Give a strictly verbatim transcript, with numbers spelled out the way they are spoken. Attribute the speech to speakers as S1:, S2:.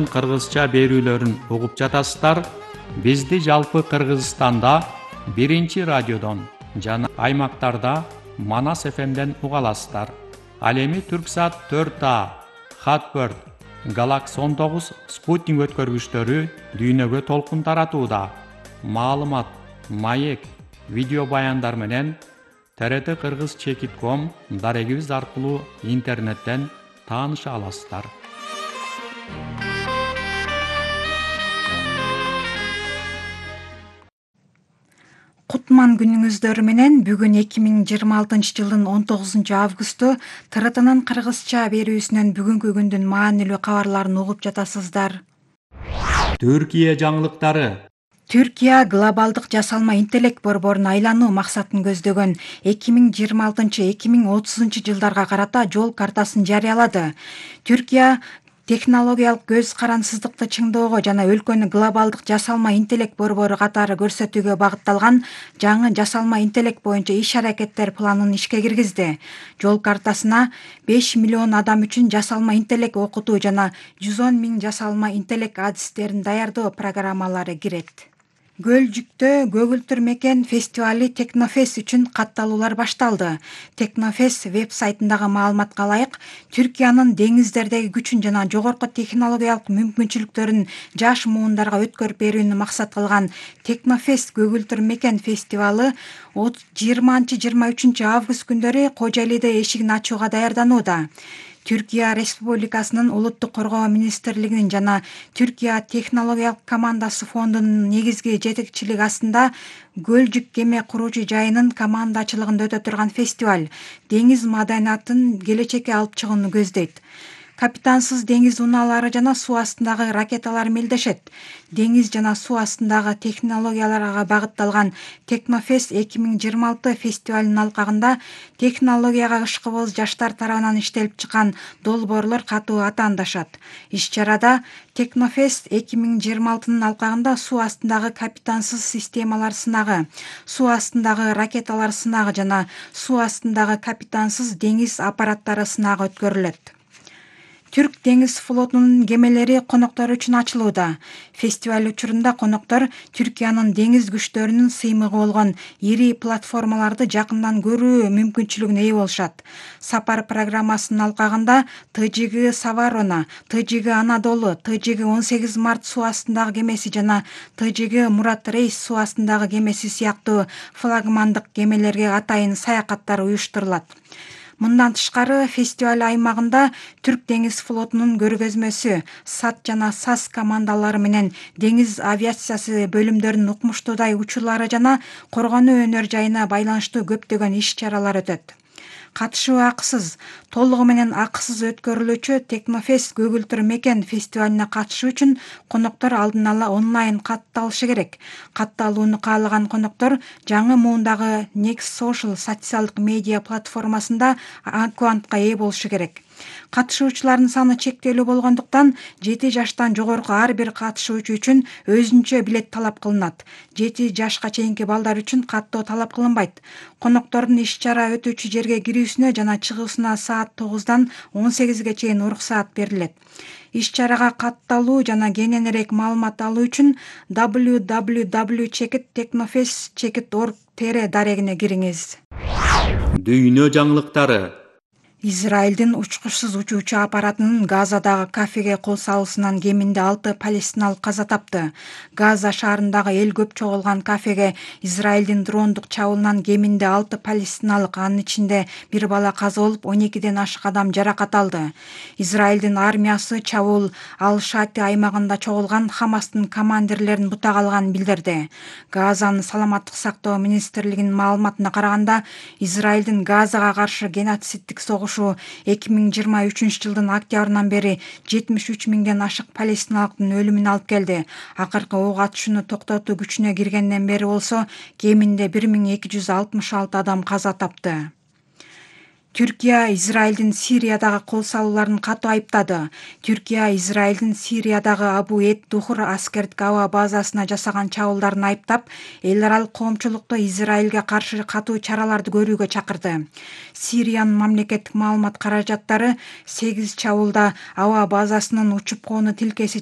S1: Кыргызча берүүлөрүн угуп жатасыздар. Бизди жалпы Кыргызстанда биринчи радиодон жана аймактарда Манас эф эмден уга аласыздар. Ал эми Түрксат төрт А, Хатбird, Galaxy он тогуз спутник өткөргүчтөрү дүйнөгө толкун таратууда. Маалымат, маек, видео баяндар менен тэ эр тэ кыргыз чекит ком дарегибиз аркылуу интернеттен тааныша аласыздар.
S2: Кутман күнүңүздөр менен бүгүн эки миң жыйырма алтынчы жылдын он тогузунчу августу тэ эр тэнин кыргызча берүүсүнөн бүгүнкү күндүн маанилүү кабарларын угуп жатасыздар.
S1: Түркия жаңылыктары.
S2: Түркия глобалдык жасалма интеллект борборуна айлануу максатын көздөгөн эки миң жыйырма алтынчы эки миң отузунчу жылдарга карата жол картасын жарыялады. Түркия технологиялык көз карансыздыкты чыңдоого жана өлкөнү глобалдык жасалма интеллект борбору катары көрсөтүүгө багытталган жаңы жасалма интеллект боюнча иш-аракеттер планын ишке киргизди. Жол картасына беш миллион адам үчүн жасалма интеллект окутуу жана жүз он миң жасалма интеллект адистерин даярдоо программалары кирет. Гөлжүктө көгүлтүр мекен фестивали Технофест үчүн катталуулар башталды. Технофест веб-сайтындагы маалыматка ылайык, Түркиянын деңиздердеги күчүн жана жогорку технологиялык мүмкүнчүлүктөрүн жаш муундарга өткөрүп берүүнү максат кылган Технофест көгүлтүр мекен фестивалы жыйырманчы жыйырма үчүнчү август күндөрү Кожа Элиде эшигин ачууга даярданууда. Түркия Республикасынын улуттук коргоо министрлигинин жана Түркия технологиялык командасы фондунун негизги жетекчилиги астында Гөлжүк кеме куруучу жайынын командачылыгында өтө турган фестиваль деңиз маданиятын келечекке алып чыгууну көздөйт. Капитансыз деңиз унаалары жана суу астындагы ракеталар мелдешет. Деңиз жана суу астындагы технологияларга багытталган Технофест эки миң жыйырма алты фестивалынын алкагында технологияга ышкыбыз жаштар тарабынан иштелип чыккан долбоорлор катуу атаандашат. Иш-чарада Технофест эки миң жыйырма алтынын алкагында суу астындагы капитансыз системалар сынагы, суу астындагы ракеталар сынагы жана суу астындагы капитансыз деңиз аппараттары сынагы өткөрүлөт. Түрк деңиз флотунун кемелери коноктор үчүн ачылууда. Фестиваль учурунда коноктор Түркиянын деңиз күчтөрүнүн сыймыгы болгон ири платформаларды жакындан көрүү мүмкүнчүлүгүнө ээ болушат. Сапар программасынын алкагында Тэ Жэ Гэ Саварона, Тэ Жэ Гэ Анадолу, Тэ Жэ Гэ он сегиз март суу астындагы кемеси жана Тэ Жэ Гэ Мурат Рейс суу астындагы кемеси сыяктуу флагмандык кемелерге атайын саякаттар уюштурулат. Мындан тышкары фестиваль аймагында Түрк деңиз флотунун көргөзмөсү, САТ жана САС командалары менен деңиз авиациясы бөлүмдөрүнүн укмуштуудай учурлары жана коргонуу өнөр жайына байланыштуу көптөгөн иш-чаралар өтөт. Катышуу акысыз, толугу менен акысыз өткөрүлүүчү Технофест көгүлтүр мекен фестивалине катышуу үчүн коноктор алдын ала онлайн катталышы керек. Катталууну каалаган коноктор жаңы муундагы Next Social социалдык медиа платформасында аккаунтка ээ болушу керек. Катышуучулардын саны чектелүү болгондуктан жети жаштан жогорку ар бир катышуучу үчүн өзүнчө билет талап кылынат. жети жашка чейинки балдар үчүн каттоо талап кылынбайт. Коноктордун иш-чара өтүүчү жерге кирүүсүнө жана чыгуусуна саат тогуздан он сегизге чейин уруксаат берилет. Иш-чарага катталуу жана кененирээк маалымат алуу үчүн дабл ю дабл ю дабл ю чекит технофест чекит орг тэ эр дарегине кириңиз.
S1: Дүйнө жаңылыктары.
S2: Израилдин учкучсуз учуучу аппаратынын Газадагы кафеге кол салуусунан кеминде алты палестиналык каза тапты. Газа шаарындагы эл көп чогулган кафеге Израилдин дрондук чабуулунан кеминде алты палестиналык, анын ичинде бир бала каза болуп, он экиден ашык адам жаракат алды. Израилдин армиясы чабуул Ал-Шати аймагында чогулган Хамастын командирлерин бутак алганын билдирди. Газанын саламаттык сактоо министрлигинин маалыматына караганда, Израилдин Газага каршы геноциддик согуш эки миң жыйырма үчүнчү жылдын октябрынан бери жетимиш үч миңден ашык палестиналыктын өлүмүнө алып келди. Акыркы ок атышууну токтотуу күчүнө киргенден бери болсо кеминде бир миң эки жүз алтымыш алты адам каза тапты. Түркия Израилдин Сириядагы кол салууларын катуу айыптады. Түркия Израилдин Сириядагы Абу-эд-Духур аскердик аба базасына жасаган чабуулдарын айыптап, эл аралык коомчулукту Израилге каршы катуу чараларды көрүүгө чакырды. Сириянын мамлекеттик маалымат каражаттары сегиз чабуулда аба базасынын учуп коону тилкеси